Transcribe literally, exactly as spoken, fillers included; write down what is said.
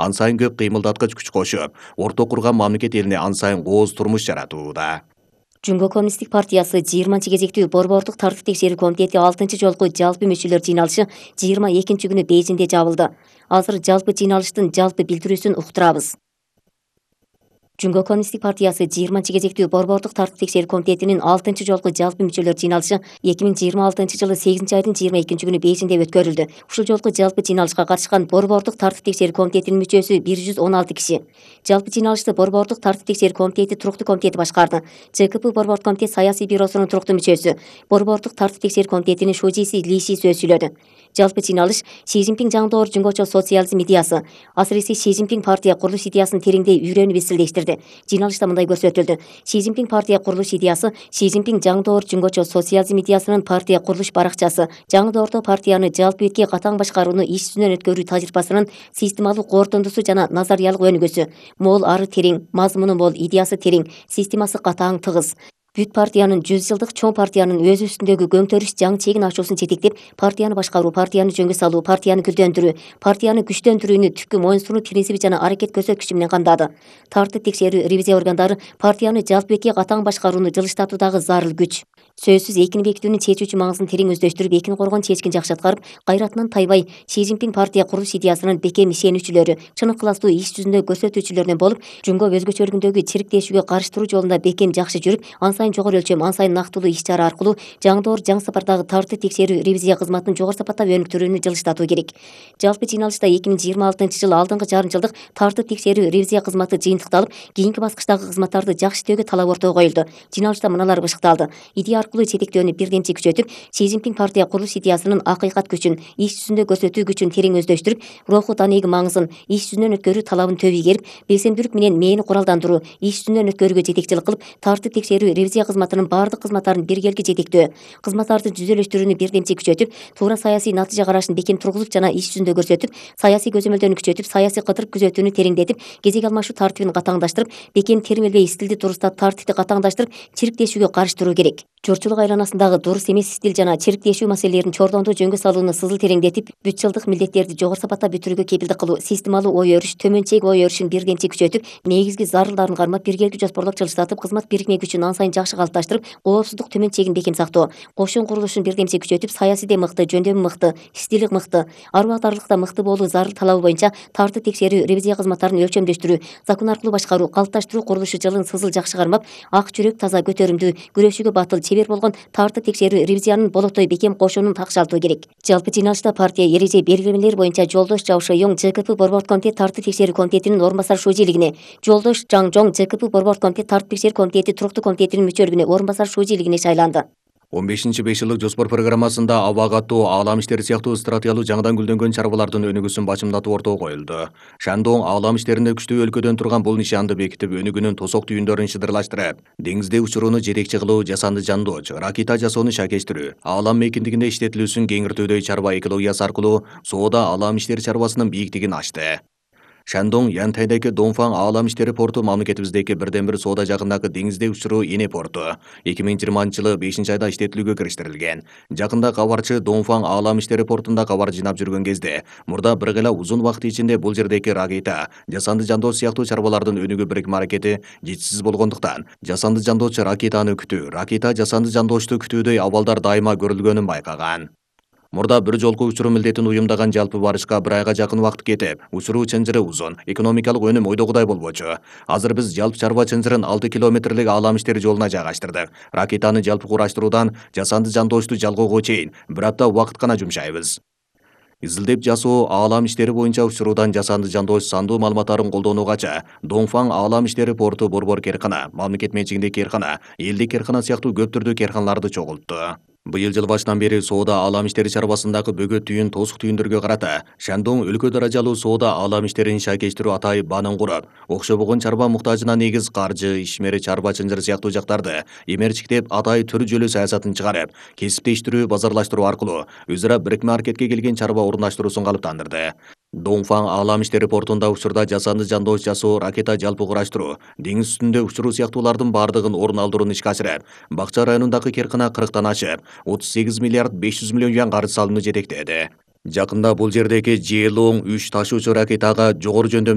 ан сайын көп кыймылдаткыч күч кошуп, орто курган мамлекет элине ан сайын кооз турмуш жаратууда. Жумго коммунисттик партиясы жыйырманчы кезектүү борбордук тартип текшерүү комитети алтынчы жолку жалпы мүчөлөр жыйналышы жыйырма экинчи күнү Бейжиңде жабылды. Азыр жалпы жыйналыштын жалпы билдирүүсүн уктурабыз. Жумго коммунисттик партиясы жыйырманчы кезектүү борбордук тартип текшерүү комитетинин алтынчы жолку жалпы мүчөлөр жыйналышы эки миң жыйырма алтынчы жылы сегизинчи айдын жыйырма экинчи күнү Бейжиңде өткөрүлдү. Ушул жолку жалпы жыйналышка катышкан борбордук тартип текшерүү комитетинин мүчөсү бир жүз он алты киши. Жалпы жыйналышты борбордук тартип текшерүү комитети туруктуу комитети башкарды. ЖКП борбордук комитет саясий бюросунун туруктуу мүчөсү, борбордук тартип текшерүү комитетинин шужиси Ли Ши сөз сүйлөдү. Жалпы жыйналыш Си Цзиньпин жаңдоор жунгочо социализм идеясы, асыресе Си Цзиньпин партия курулуш идеясын тереңдей үйрөнүп изилдештирди. Жыйналышта мындай көрсөтүлдү. Си Цзиньпин партия курулуш идеясы Си Цзиньпин жаңдоор жунгочо социализм идеясынын партия курулуш баракчасы, жаңдоордо партияны жалпы бетке катаң башкарууну иш жүзүнөн өткөрүү тажрыйбасынын системалык кортундусу жана назариялык өнүгүүсү. Мол ары терең, мазмуну мол, идеясы терең, системасы катаң, тыгыз. Бүт партиянын жүз жылдык чоң партиянын өзү үстүндөгү көңтөрүш жаң чегин ачуусун жетектеп, партияны башкаруу, партияны жөнгө салуу, партияны гүлдөндүрүү, партияны күчтөндүрүүнү түпкү моюнсунуу принципи жана аракет көрсөткүчү менен камдады. Тартип текшерүү ревизия органдары партияны жалпы бетке катаң башкарууну жылыштатуудагы зарыл күч. Сөзсүз экини бекитүүнүн чечүүчү маңызын терең өздөштүрүп, экини коргон чечкин жакшы аткарып, кайратынан тайбай Си Цзиньпин партия курулуш идеясынын бекем ишенүүчүлөрү, чын ыкыластуу иш жүзүндө көрсөтүүчүлөрүнөн болуп, жумго өзгөчөлүгүндөгү чириктешүүгө карыштыруу жолунда бекем жакшы жүрүп, ан сайын жогору өлчөм, ан сайын нактылуу иш чара аркылуу жаңдоор жаң сапардагы тартип текшерүү ревизия кызматын жогору сапаттап өнүктүрүүнү жылыштатуу керек. Жалпы жыйналышта эки миң жыйырма алтынчы жылы алдыңкы жарым жылдык тартип текшерүү ревизия кызматы жыйынтыкталып, кийинки баскычтагы кызматтарды жакшы иштөөгө талап ортого коюлду. Жыйналышта мыналар бышыкталды. Идея аркылуу жетектөөнү бирдемчи күчөтүп, Си Цзиньпин партия курулуш идеясынын акыйкат күчүн, иш жүзүндө көрсөтүү күчүн терең өздөштүрүп, руху данеги маңызын, иш жүзүнөн өткөрүү талабын төбү ийгерип, белсемдүүлүк менен мээни куралдандыруу, иш жүзүнөн өткөрүүгө жетекчилик кылып, тартип текшерүү ревизия кызматынын бардык кызматтарын биргелги жетектөө, кызматтарды жүзөлөштүрүүнү бирдемчи күчөтүп, туура саясий натыйжа карашын бекем тургузуп жана иш жүзүндө көрсөтүп, саясий көзөмөлдөрүнү күчөтүп, саясий кыдырып күзөтүүнү тереңдетип, кезек алмашуу тартибин катаңдаштырып, бекем термелбей стилди дурустап, тартипти катаңдаштырып, чириктешүүгө карыштыруу керек. Журчулук айланасындагы дурус эмес стиль жана чириктешүү маселелерин чордондуу жөнгө салууну сызыл тереңдетип, бүт жылдык милдеттерди жогору сапатта бүтүрүүгө кепилдик кылуу, системалуу ой өрүш, төмөн чек ой өрүшүн бирдемчи күчөтүп, негизги зарылдарын кармап, биргелги жоспорлоп жылыштатып, кызмат бирикме күчүн ан сайын жакшы калыпташтырып, коопсуздук төмөн чегин бекем сактоо, кошун курулушун бирдемчи күчөтүп, саясийде мыкты, жөндөмү мыкты, стили мыкты, ар убактарлыкта мыкты болуу зарыл талабы боюнча тартип текшерүү ревизия кызматтарын өлчөмдөштүрүү, закон аркылуу башкаруу, калыпташтыруу курулушу жылын сызыл жакшы кармап, ак жүрөк, таза, көтөрүмдүү, күрөшүүгө батыл, чебер болгон тартип текшерүү ревизиянын болотой бекем кошунун такшалтуу керек. Жалпы жыйналышта партия эреже белгилемелери боюнча Жолдош Жао Шоюң ЖКП борбордук комитет тартип текшерүү комитетинин орун басар шужилигине, Жолдош Жаң Жоң ЖКП борбордук комитет тартип текшерүү комитети туруктуу комитетинин мүчөлүгүнө орун басар шужилигине шайланды. он бешинчи беш жылдык жоспор программасында аба катуу, аалам иштери сыяктуу стратегиялуу жаңыдан гүлдөнгөн чарбалардын өнүгүүсүн бачымдатуу ортого коюлду. Шандоң аалам иштеринде күчтүү өлкөдөн турган бул нишанды бекитип, өнүгүүнүн тосок түйүндөрүн шыдырлаштырып, деңизде учурууну жетекчи кылуу, жасанды жандооч, ракета жасоону шакештирүү, аалам мейкиндигинде иштетилүүсүн кеңиртүүдөй чарба экологиясы аркылуу соода аалам иштери чарбасынын бийиктигин ачты. Шандоң Янтайдагы Донфан аалам иштери порту мамлекетибиздеги бирден бир соода жагындагы деңизде учуруу эне порту. эки миң жыйырманчы жылы бешинчи айда иштетилүүгө кириштирилген. Жакында кабарчы Донфан аалам иштери портунда кабар жыйнап жүргөн кезде, мурда бир гана узун убакыт ичинде бул жердеги ракета, жасанды жандооч сыяктуу чарбалардын өнүгүү бирикме аракети жетишсиз болгондуктан, жасанды жандооч ракетаны күтүү, ракета жасанды жандоочту күтүүдөй абалдар дайыма көрүлгөнүн байкаган. Мурда бир жолку учуруу милдетин уюмдаган жалпы барышка бир айга жакын убакыт кетип, учуруу чынжыры узун, экономикалык өнүм ойдогудай болбочу. Азыр биз жалпы чарба чынжырын алты километрлик аалам иштери жолуна жайгаштырдык. Ракетаны жалпы кураштыруудан жасанды жандоочту жалгоого чейин бир апта убакыт гана жумшайбыз. Изилдеп жасоо аалам иштери боюнча учуруудан жасанды жандооч сандуу маалыматтарын колдонуугача, Донфан аалам иштери порту борбор керкана, мамлекет менчигиндеги керкана, элдик керкана сыяктуу көп түрдүү керканаларды чогултту. Быйыл жыл башынан бери соода аалам иштери чарбасындагы бөгөт түйүн, тосук түйүндөргө карата Шандоң өлкө даражалуу соода аалам иштерин шайкештирүү атайып банын куруп, окшобогон чарба муктажына негиз каржы, ишмер, чарба чынжыр сыяктуу жактарды эмерчиктеп атай төр жөлү саясатын чыгарып, кесиптештирүү, базарлаштыруу аркылуу өз ара бирикме аракетке келген чарба орундаштыруусун калыптандырды. Донфан аалам иштери портунда учурда жасанды жандооч жасоо, ракета жалпы кураштыруу, деңиз үстүндө учуруу сыяктуулардын бардыгын орун алдырууну ишке ашырып, Бакча районундагы керкана кырктан ашып, отуз сегиз миллиард беш жүз миллион юан каржы салууну жетектеди. Жакында бул жердеги Жээлоң үч ташуучу ракетага жогору жөндөмдүү